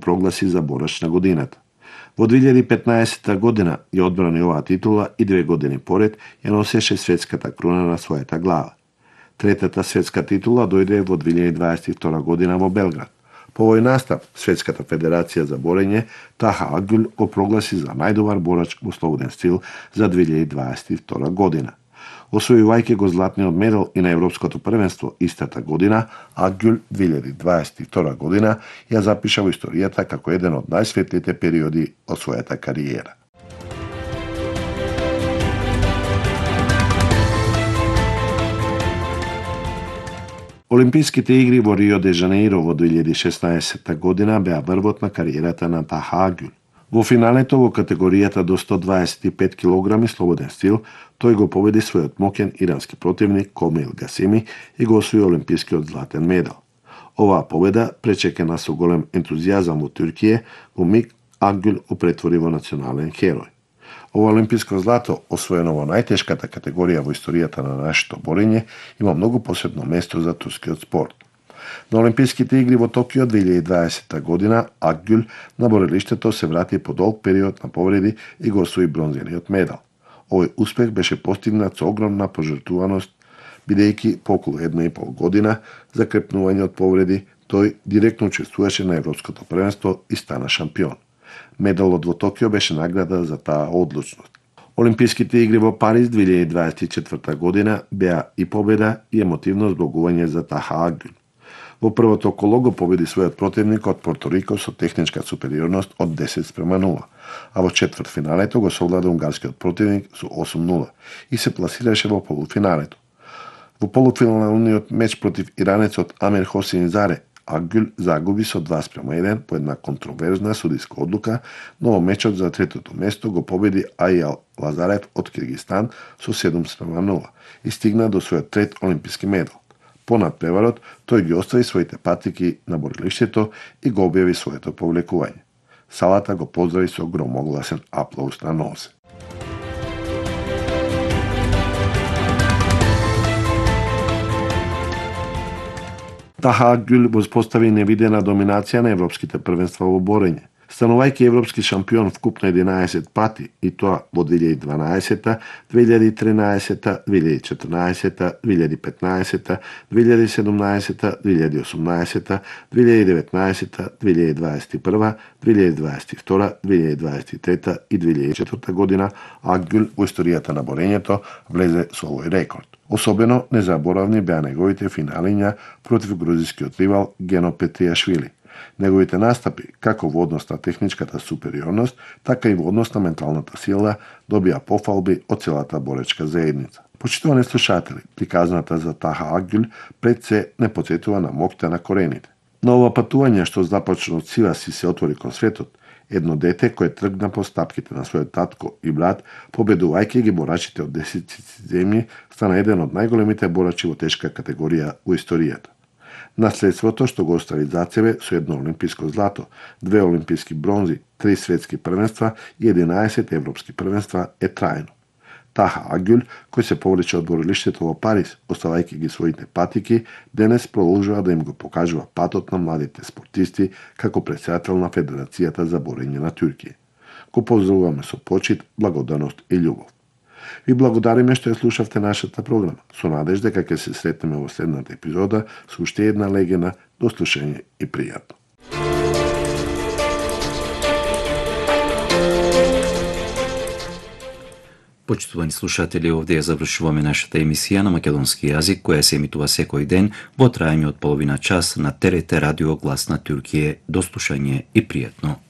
прогласи за борач на годината. Во 2015 година ја одбрани оваа титула и 2 години поред ја носеше светската круна на својата глава. Третата светска титула дојде во 2022 година во Белград. По овој настап, Светската федерација за борење Таха Акгюл го прогласи за најдобар борач во слободен стил за 2022 година. Освојувајќи го златниот медал и на Европското првенство истата година, Акгюл 2022 година ја запиша во историјата како еден од најсветлите периоди од својата кариера. Олимписките игри во Рио де Жанеиро во 2016 година беа врвот на кариерата на Таха Акгюл. Во финалето во категоријата до 125 кг слободен стил, тој го победи својот моќен ирански противник Комил Гасеми и го освои олимпискиот златен медал. Оваа победа, пречекана со голем ентузијазам во Туркија, во миг Акгюл го претвори во национален херој. Ова олимписко злато, освоено во најтешката категорија во историјата на нашето борење, има многу посебно место за турскиот спорт. На Олимписките игри во Токио 2020 година Акгюл на борелиштето се врати по долг период на повреди и го освои бронзениот медал. Овој успех беше постигнат со огромна пожртвуваност, бидејќи по околу 1,5 година за крепнување од повреди, тој директно учествуваше на Европското првенство и стана шампион. Медалот во Токио беше награда за таа одлучност. Олимписките игри во Париз 2024 година беа и победа и емотивно збогување за Таха Акгюл. Во првото коло го победи својот противник од Порто Рико со техничка супериорност од 10:0, а во четвртфиналето го совлада унгарскиот противник со 8:0 и се пласираше во полуфиналето. Во полуфиналниот меч против иранецот Амир Хосейн Заре, Акгюл загуби со 2:1 по една контроверзна судиска одлука, но во мечот за третото место го победи Ајал Лазарев од Киргистан со 7:0 и стигна до својот трет олимписки медал. По надпреварот, тој ги остави своите патики на борилиштето и го објави своето повлекување. Салата го поздрави со громогласен аплауз на нозе. Таха Акгюл воспостави невидена доминација на европските првенства во борење. Станувајќи европски шампион вкупно 11 пати, и тоа во 2012, 2013, 2014, 2015, 2017, 2018, 2019, 2021, 2022, 2023 и 2024 година, Акгюл во историјата на борењето влезе со овој рекорд. Особено незаборавни беа неговите финалиња против грузискиот ривал Гено Петријашвили. Неговите настапи, како во однос на техничката супериорност, така и во однос на менталната сила, добија пофалби од целата боречка заедница. Почитувани слушатели, приказната за Таха Акгюл пред се не потсетува на моќта на корените. На ова патување што започна од сивас и се отвори кон светот, едно дете кое тргна по стапките на својот татко и брат, победувајќи ги борачите од 10 земји, стана еден од најголемите борачи во тешка категорија во историјата. Наследството што го остави зад себе со едно олимписко злато, 2 олимписки бронзи, 3 светски првенства и 11 европски првенства е трајно. Таха Акгюл, кој се повлече од борилиштето во Париз, оставајќи ги своите патики, денес продолжува да им го покажува патот на младите спортисти како претседател на Федерацијата за борење на Туркија. Го поздравуваме со почит, благодарност и љубов. Ви благодариме што ја слушавте нашата програма. Со надежда дека ќе се сретнеме во следната епизода со уште една легенда. До слушање и пријатно. Почитувани слушатели, овде ја завршуваме нашата емисија на македонски јазик, која се емитува секој ден во трајање од половина час на ТРТ Радио Глас на Туркија. До слушање и пријатно.